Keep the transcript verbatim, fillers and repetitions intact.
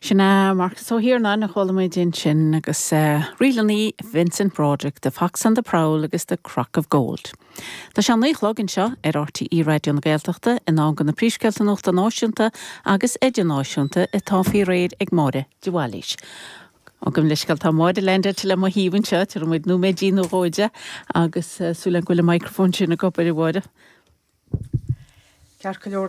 Sin é Marcus Ó hIarnáin a chuala muid ansin agus uh, ríleanna Vincent Broderick, The Fox on the Prowl agus The Crock of Gold. Tá sé naoi a chlog anseo ar RTÉ Raidió na Gaeltachta in am do na príomhscéalta nuachta náisiúnta agus idirnáisiúnta atá faoi réir ag Máire de Bhailís. Agam leis tá Máire Lende le mo thaobh anseo tar muid nó méidí nó róide agus uh, súil go bhfuil an microphone sin ag obair a Mháire. Ceart go leor